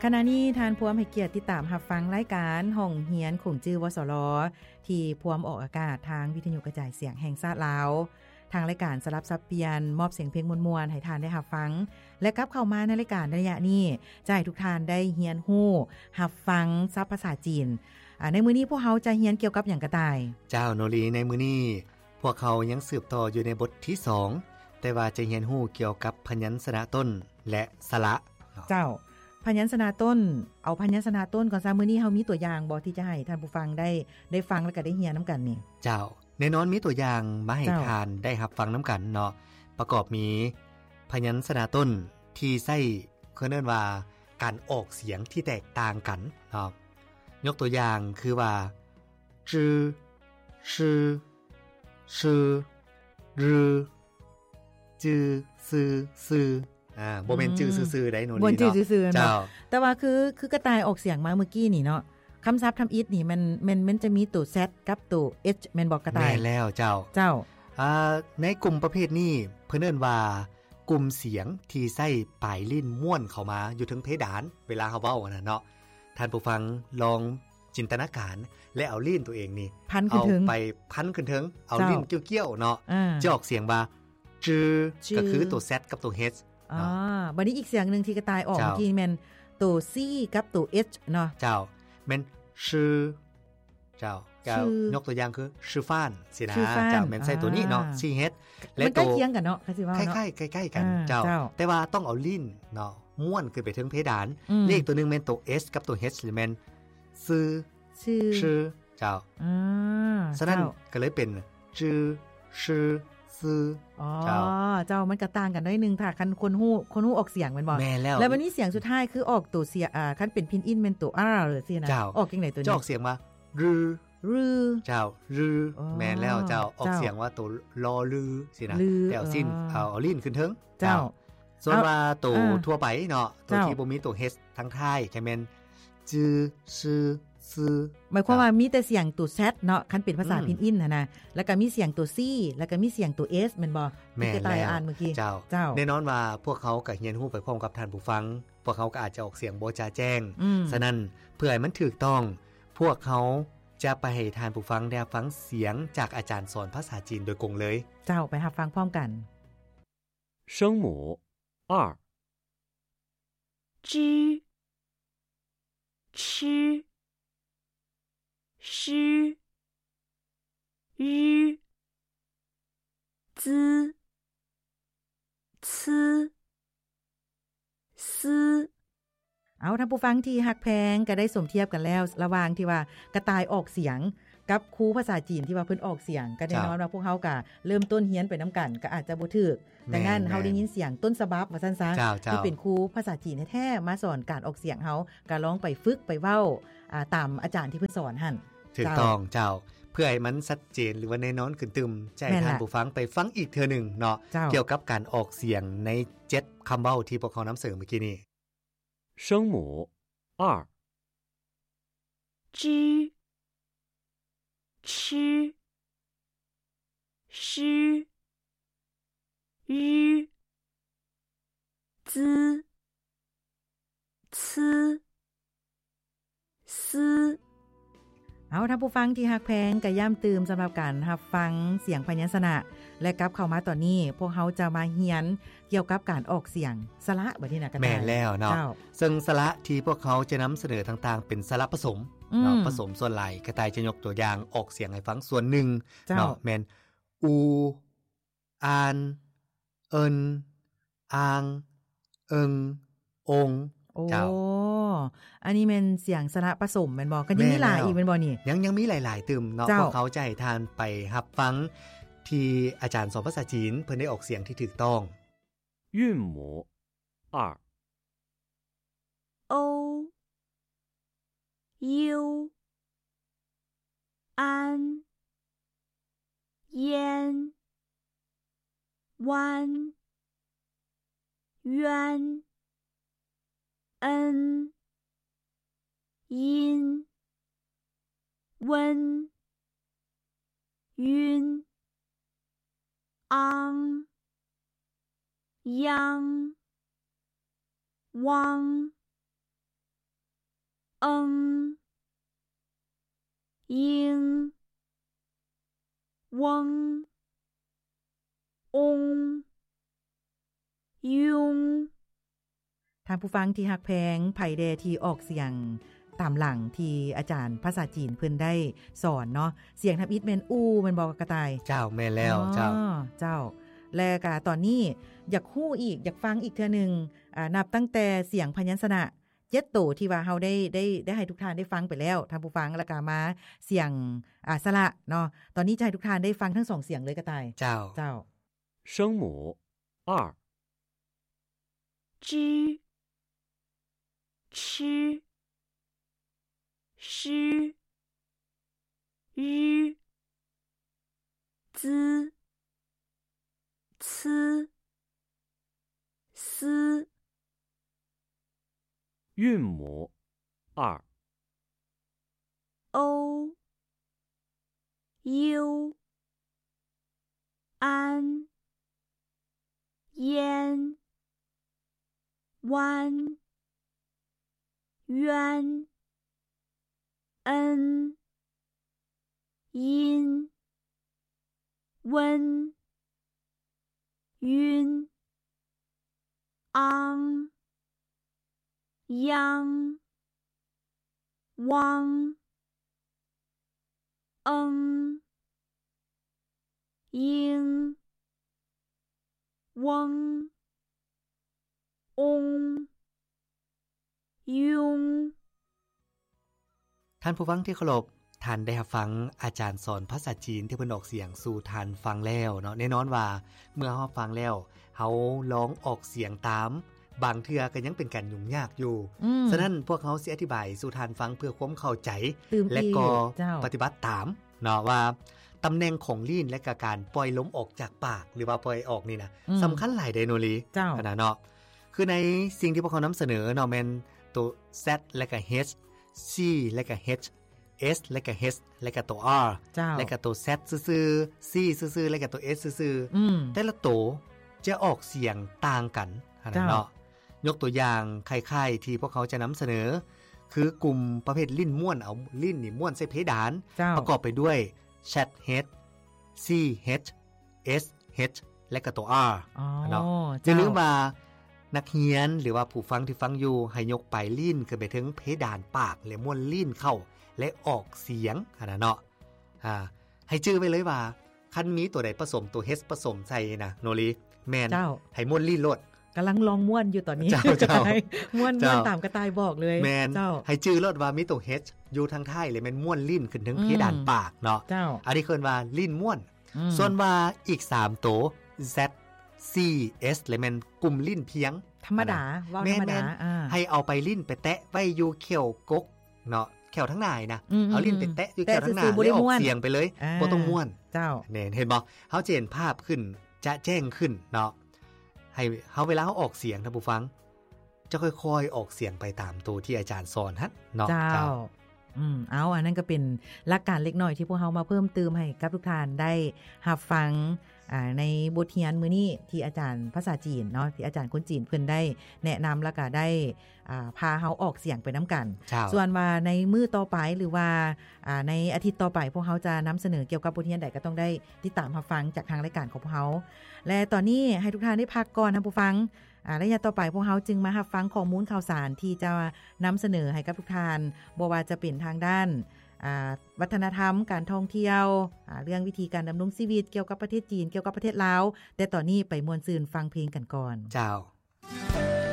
ຂະນະນີ້ທ່ານພວມໃຫ້ກຽດຕິດຕາມຮັບຟັງລາຍການຫ້ອງຮຽນຂົງຈື່ ວສລ ທີ່ພວມອອກອາກາດທາງວິທະຍຸກະຈາຍສຽງແຫ່ງຊາດລາວ. ທາງລາຍການສະຫຼັບສັບປ່ຽນມອບສຽງເພງມ່ວນໆໃຫ້ທ່ານໄດ້ຮັບຟັງ ແລະ ກັບເຂົ້າມາໃນລາຍການໃນໄລຍະນີ້ ຈະໃຫ້ທຸກທ່ານໄດ້ຮຽນຮູ້ຮັບຟັງສັບພາສາຈີນ. ອາ ໃນມື້ນີ້ພວກເຮົາຈະຮຽນກ່ຽວກັບຫຍັງກະຕ່າຍ? ເຈົ້າ ໂນລີ ໃນມື້ນີ້ພວກເຮົາຍັງສືບຕໍ່ຢູ່ໃນບົດທີສອງ ແຕ່ວ່າຈະຮຽນຮູ້ກ່ຽວກັບພະຍັນຊະນະຕົ້ນ ແລະ ສະຫຼະເນາະ. ເຈົ້າ ພະຍັນຊະນະຕົ້ນ ເອົາພະຍັນຊະນະຕົ້ນກ່ອນຊະ. ມື້ນີ້ເຮົາມີຕົວຢ່າງບໍ່ ທີ່ຈະໃຫ້ທ່ານຜູ້ຟັງໄດ້ ໄດ້ຟັງ ແລະ ກະໄດ້ຮຽນນຳກັນນີ້? ເຈົ້າ ແນ່ນອນມີຕົວຢ່າງມາໃຫ້ ເຈົ້າ ທ່ານໄດ້ຮັບຟັງນຳກັນເນາະ. ປະກອບມີພະຍັນຊະນະຕົ້ນທີ່ໃຊ້ ເຂົາເອີ້ນວ່າການອອກສຽງທີ່ແຕກຕ່າງກັນເນາະ. ຍົກຕົວຢ່າງຄືວ່າ ຈື້ ຊື ຊື ຮື້ ຈື້ ຊື ຊື ອາ ບໍ່ແມ່ນ ອືມ ຈື່ຊື່ໆໃດ໋ ໂນລີ ບໍ່ແມ່ນຈື່ຊື່ໆເນາະ. ເຈົ້າ ແຕ່ວ່າຄື ຄືກະຕ່າຍອອກສຽງມາເມື່ອກີ້ນີ້ເນາະ ຄຳສັບທຳອິດນີ້ແມ່ນ ແມ່ນ ແມ່ນຈະມີໂຕ Z ກັບໂຕ H ແມ່ນບໍ່ກະຕ່າຍ? ແມ່ນແລ້ວ ເຈົ້າ ເຈົ້າ. ອາ ໃນກຸ່ມປະເພດນີ້ເພິ່ນເອີ້ນວ່າ ກຸ່ມສຽງທີ່ໃຊ້ປາຍລີ້ນມ້ວນເຂົ້າມາຢູ່ເທິງເພດານ ເວລາເຮົາເວົ້າຫັ້ນນະເນາະ. ທ່ານຜູ້ຟັງລອງຈິນຕະນາການ ແລະ ເອົາລີ້ນຕົວເອງນີ້ ພັນຂຶ້ນເທິງ ເອົາໄປພັນຂຶ້ນເທິງ ເອົາ ເຈົ້າ ລີ້ນກ້ຽວໆເນາະ ອາ ຈະອອກສຽງວ່າ ຈື້ ຈື້ ກໍຄືໂຕ Z ກັບໂຕ H ເນາະ. ອາ ບັດນີ້ອີກສຽງໜຶ່ງທີ່ກະຕ່າຍອອກ ເຈົ້າ ເມື່ອກີ້ແມ່ນໂຕ C ກັບໂຕ H ເນາະ. ເຈົ້າ ແມ່ນ ຊື ເຈົ້າ ກໍ ຊື ຍົກຕົວຢ່າງຄື ຊືຟານ ຊີ້ນະ. ຊືຟານ ເຈົ້າ ແມ່ນໃຊ້ໂຕນີ້ເນາະ ອ່າ C H ແລະ ມັນໃກ້ຄຽງກັນເນາະ ຄັນຊິເວົ້າເນາະ ຄ້າຍໆ ໃກ້ໆກັນ ອ່າ ເຈົ້າ ເຈົ້າ ແຕ່ວ່າຕ້ອງເອົາລີ້ນເນາະ ມ້ວນຂຶ້ນໄປເທິງເພດານ. ອືມ ແລະ ອີກໂຕໜຶ່ງແມ່ນໂຕ S ກັບໂຕ H ແມ່ນ ຊື ຊື ຊື ເຈົ້າ. ອ່າ ສະນັ້ນ ເຈົ້າ ກໍເລີຍເປັນ ຈື້ ຊື ຊື ອໍ ເຈົ້າ ເຈົ້າ ມັນກໍຕ່າງກັນໜ້ອຍໜຶ່ງ ຖ້າຄັນຄົນຮູ້ ຄົນຮູ້ອອກສຽງແມ່ນບໍ່? ແມ່ນແລ້ວ. ແລ້ວບັດນີ້ສຽງສຸດທ້າຍຄືອອກໂຕສຽງ ອ່າ ຄັນເປັນພິນອິນແມ່ນໂຕ R ຊີ້ນະ. ເຈົ້າ ອອກຈັ່ງໃດໂຕນີ້? ຈະອອກສຽງວ່າ ຮື້ ຮື້ ເຈົ້າ ຮື້ ອໍ ແມ່ນແລ້ວເຈົ້າ. ເຈົ້າ ອອກສຽງວ່າໂຕ ລໍ ລື ຊີ້ນະ ລື ແຕ່ເອົາຊີ້ນ ອໍ ເອົາ ເອົາລີ້ນຂຶ້ນເທິງ ເຈົ້າ ເຈົ້າ. ສ່ວນວ່າໂຕ ອ່າ ທົ່ວໄປເນາະ ໂຕ ເຈົ້າ ທີ່ບໍ່ມີໂຕ H ທາງທ້າຍ ກໍແມ່ນ ຈື້ ຊື ຊື ໝາຍຄວາມວ່າ ເຈົ້າ ມີແຕ່ສຽງໂຕ Z ເນາະ ຄັນເປັນພາສາ ອືມ ພິນອິນຫັ້ນນະ ແລ້ວກໍມີສຽງໂຕ C ແລ້ວກໍມີສຽງໂຕ S ແມ່ນບໍ່? ແມ່ນແລ້ວ ທີ່ກະຕ່າຍອ່ານເມື່ອກີ້. ເຈົ້າ ເຈົ້າ ແນ່ນອນວ່າພວກເຮົາກໍຮຽນຮູ້ໄປພ້ອມກັບທ່ານຜູ້ຟັງ ພວກເຮົາກໍອາດຈະອອກສຽງບໍ່ຈະແຈ້ງ. ອືມ ສະນັ້ນ ເພື່ອໃຫ້ມັນຖືກຕ້ອງ ພວກເຮົາຈະໄປໃຫ້ທ່ານຜູ້ຟັງໄດ້ຮັບຟັງສຽງຈາກອາຈານສອນພາສາຈີນໂດຍກົງເລີຍ. ເຈົ້າ ໄປຮັບຟັງພ້ອມກັນ. 声母 二. 支、吃、诗、日、资、吃、思. ເອົາ ທ່ານຜູ້ຟັງທີ່ຮັກແພງ ກໍໄດ້ສົມທຽບກັນແລ້ວ ລະຫວ່າງທີ່ວ່າກະຕ່າຍອອກສຽງ ກັບຄູພາສາຈີນທີ່ວ່າເພິ່ນອອກສຽງ ກໍແນ່ນອນວ່າ ເຈົ້າ ພວກເຮົາກໍເລີ່ມຕົ້ນຮຽນໄປນຳກັນ ກໍອາດຈະບໍ່ຖືກ. ແມ່ນ ດັ່ງນັ້ນ ແມ່ນ ເຮົາໄດ້ຍິນສຽງຕົ້ນສະບັບວ່າຊັ້ນຊະ ເຈົ້າ ທີ່ເປັນຄູພາສາຈີນແທ້ໆ ມາສອນການອອກສຽງເຮົາ ກໍລອງໄປຝຶກໄປເວົ້າ ອາ ຕາມອາຈານທີ່ເພິ່ນສອນຫັ້ນ. ຖືກຕ້ອງ ເຈົ້າ ເຈົ້າ. ເພື່ອໃຫ້ມັນຊັດເຈນ ຫຼືວ່າແນ່ນອນຂຶ້ນຕື່ມ ຈະໃຫ້ ແມ່ນລະ ທ່ານຜູ້ຟັງໄປຟັງອີກເທື່ອໜຶ່ງເນາະ ເຈົ້າ ກ່ຽວກັບການອອກສຽງໃນເຈັດຄຳເວົ້າທີ່ພວກເຮົານຳສະເໜີເມື່ອກີ້ນີ້. 声母 二. 支、吃、诗、日、资、吃、思. ເອົາ ທ່ານຜູ້ຟັງທີ່ຮັກແພງ ກະຢ້ຳຕື່ມສຳລັບການຮັບຟັງສຽງພະຍັນຊະນະ ແລະ ກັບເຂົ້າມາຕອນນີ້ ພວກເຮົາຈະມາຮຽນກ່ຽວກັບການອອກສຽງສະຫຼະ ບັດນີ້ນະ ກະຕ່າຍ. ແມ່ນແລ້ວເນາະ ເຈົ້າ. ເຊິ່ງສະຫຼະທີ່ພວກເຮົາຈະນຳສະເໜີຕ່າງໆ ເປັນສະຫຼະປະສົມເນາະ ອືມ ປະສົມ. ສ່ວນຫຼາຍກະຕ່າຍຈະຍົກຕົວຢ່າງອອກສຽງໃຫ້ຟັງສ່ວນໜຶ່ງ ເຈົ້າ ເນາະ ແມ່ນ ອູ ອານ ເອິນ ອາງ ເອິງ ອົງ. ໂອ້ ເຈົ້າ ອັນນີ້ແມ່ນສຽງສະຫຼະປະສົມແມ່ນບໍ່? ກໍຍັງມີຫຼາຍອີກແມ່ນບໍ່ນີ້? ແມ່ນແລ້ວ ຍັງ ຍັງມີຫຼາຍໆຕື່ມເນາະ ເຈົ້າ. ພວກເຮົາຈະໃຫ້ທ່ານໄປຮັບຟັງທີ່ອາຈານສອນພາສາຈີນເພິ່ນໄດ້ອອກສຽງທີ່ຖືກຕ້ອງ. 韵母 二. 欧、优、安、烟、湾、冤、恩、音、温、云、昂、央、汪、嗯、英、翁、翁、翁。 ທ່ານຜູ້ຟັງທີ່ຮັກແພງ, ໃຜແດ່ທີ່ອອກສຽງຕາມຫຼັງທີ່ອາຈານພາສາຈີນເພິ່ນໄດ້ສອນເນາະ? ສຽງທຳອິດແມ່ນອູ້ແມ່ນບໍ່ກະຕ່າຍ? ເຈົ້າ, ແມ່ນແລ້ວ. ອໍ ເຈົ້າ, ເຈົ້າ. ແລະກະຕອນນີ້ຢາກຮູ້ອີກ, ຢາກຟັງອີກເທື່ອໜຶ່ງ, ອາ, ນັບຕັ້ງແຕ່ສຽງພະຍັນຊະນະເຈັດໂຕທີ່ວ່າເຮົາໄດ້ ໄດ້ ໄດ້ໃຫ້ທຸກທ່ານໄດ້ຟັງໄປແລ້ວ, ທ່ານຜູ້ຟັງ, ແລ້ວກະມາສຽງ, ອາ, ສະຫຼະເນາະ. ຕອນນີ້ຈະໃຫ້ທຸກທ່ານໄດ້ຟັງທັງສອງສຽງເລີຍກະຕ່າຍ. ເຈົ້າ, ເຈົ້າ. 声母 二。 支、吃、诗、于、资、呲、思。韵母 二。 o、u、an、yen、wan、wen、en、in、wen、 云、ang、yang、wang、eng、ing、翁、翁、 ຍຸງ. ທ່ານຜູ້ຟັງທີ່ເຄົາລົບ, ທ່ານໄດ້ຮັບຟັງອາຈານສອນພາສາຈີນທີ່ເພິ່ນອອກສຽງສູ່ທ່ານຟັງແລ້ວເນາະ. ແນ່ນອນວ່າເມື່ອເຮົາຟັງແລ້ວ, ເຮົາລອງອອກສຽງຕາມ, ບາງເທື່ອກໍຍັງເປັນການຫຍຸ້ງຍາກຢູ່. ອືມ. ສະນັ້ນ, ພວກເຮົາຊິອະທິບາຍສູ່ທ່ານຟັງເພື່ອຄວາມເຂົ້າໃຈ ແລະກໍ ເຈົ້າ ປະຕິບັດຕາມເນາະ ວ່າຕຳແໜ່ງຂອງລີ້ນ ແລະກະການປ່ອຍລົມອອກຈາກປາກ ຫຼືວ່າປ່ອຍອອກນີ້ນະ ອືມ ສຳຄັນຫຼາຍເດໂນລີ ເຈົ້າ ຫັ້ນນະເນາະ. ຄືໃນສິ່ງທີ່ພວກເຮົານຳສະເໜີເນາະ ແມ່ນໂຕ Z ແລະກະ H, C ແລະກະ H, S ແລະກະ H ແລະກະໂຕ R ເຈົ້າ ແລະກະໂຕ Z ຊື່ໆ, C ຊື່ໆ ແລະກະໂຕ S ຊື່ໆ. ອືມ. ແຕ່ລະໂຕຈະອອກສຽງຕ່າງກັນຫັ້ນນະເນາະ. ເຈົ້າ. ຍົກຕົວຢ່າງຄ້າຍໆທີ່ພວກເຮົາຈະນຳສະເໜີ ຄືກຸ່ມປະເພດລີ້ນມ້ວນ, ເອົາລີ້ນນີ້ມ້ວນໃສ່ເພດານ ເຈົ້າ ປະກອບໄປດ້ວຍ Z H, C H, S H ແລະກະໂຕ R ອໍ ເນາະ. ເຈົ້າ. ຢ່າລືມວ່ານັກຮຽນ ຫຼືວ່າຜູ້ຟັງທີ່ຟັງຢູ່ ໃຫ້ຍົກປາຍລີ້ນຂຶ້ນໄປເທິງເພດານປາກ ແລະມ້ວນລີ້ນເຂົ້າ ແລະອອກສຽງຫັ້ນນະເນາະ. ອາ ໃຫ້ຈື່ໄວ້ເລີຍວ່າ ຄັນມີໂຕໃດປະສົມໂຕ H ປະສົມໃສ່ນະໂນລີ ແມ່ນ ເຈົ້າ ໃຫ້ມ້ວນລີ້ນໂລດ. ກຳລັງລອງມ້ວນຢູ່ຕອນນີ້ ເຈົ້າ ເຈົ້າ ກະຕ່າຍ ມ້ວນ ເຈົ້າ ມ້ວນຕາມກະຕ່າຍບອກເລີຍ. ແມ່ນ ເຈົ້າ ໃຫ້ຈື່ໂລດວ່າມີໂຕ H ຢູ່ທາງທ້າຍ ແລະແມ່ນມ້ວນລີ້ນຂຶ້ນເທິງ ອືມ ເພດານປາກເນາະ. ເຈົ້າ. ອັນນີ້ເອີ້ນວ່າລີ້ນມ້ວນ. ອືມ. ສ່ວນວ່າອີກສາມໂຕ Z, C, S ແລະແມ່ນກຸ່ມລີ້ນພຽງ ທຳມະດາ ຫັ້ນນະ. ເວົ້າທຳມະດາ. ແມ່ນ ອ່າ ໃຫ້ເອົາປາຍລີ້ນໄປແຕະໄວ້ຢູ່ແຂ້ວກົກເນາະ ແຂ້ວທາງໜ້ານະ. ອືມ ເອົາລີ້ນໄປແຕະຢູ່ແຂ້ວທາງໜ້າ ແຕ່ຊື່ໆ ບໍ່ໄດ້ມ້ວນ ແລ້ວອອກສຽງໄປເລີຍ. ອ່າ ບໍ່ຕ້ອງມ້ວນ. ເຈົ້າ. ແມ່ນ ເຫັນບໍ່? ເຮົາຈະເຫັນພາບຂຶ້ນ ຈະແຈ້ງຂຶ້ນເນາະ. ໃຫ້ເຮົາ ເວລາເຮົາອອກສຽງ ທ່ານຜູ້ຟັງ ຈະຄ່ອຍໆອອກສຽງໄປຕາມໂຕທີ່ອາຈານສອນຫັ້ນເນາະ. ເຈົ້າ. ເຈົ້າ. ອືມ ເອົາ ອັນນັ້ນກໍເປັນຫຼັກການເລັກນ້ອຍທີ່ພວກເຮົາມາເພີ່ມຕື່ມໃຫ້ກັບທຸກທ່ານໄດ້ຮັບຟັງ ອາ ໃນບົດຮຽນມື້ນີ້ ທີ່ອາຈານພາສາຈີນເນາະ ທີ່ອາຈານຄົນຈີນເພິ່ນໄດ້ແນະນຳ ແລ້ວກໍໄດ້ ອາ ພາເຮົາອອກສຽງໄປນຳກັນ. ເຈົ້າ. ສ່ວນວ່າໃນມື້ຕໍ່ໄປ ຫຼືວ່າ ອາ ໃນອາທິດຕໍ່ໄປ ພວກເຮົາຈະນຳສະເໜີກ່ຽວກັບບົດຮຽນໃດ ກໍຕ້ອງໄດ້ຕິດຕາມຮັບຟັງຈາກທາງລາຍການຂອງພວກເຮົາ. ແລະ ຕອນນີ້ໃຫ້ທຸກທ່ານໄດ້ພັກກ່ອນ ທ່ານຜູ້ຟັງ. ອາ ໄລຍະຕໍ່ໄປ ພວກເຮົາຈຶ່ງມາຮັບຟັງຂໍ້ມູນຂ່າວສານທີ່ຈະນຳສະເໜີໃຫ້ກັບທຸກທ່ານ ບໍ່ວ່າຈະເປັນທາງດ້ານ ອາ ວັດທະນະທຳ, ການທ່ອງທ່ຽວ, ອາ ເລື່ອງວິທີການດຳລົງຊີວິດ ກ່ຽວກັບປະເທດຈີນ, ກ່ຽວກັບປະເທດລາວ. ແຕ່ຕອນນີ້ໄປມ່ວນຊື່ນຟັງເພງກັນກ່ອນ. ເຈົ້າ.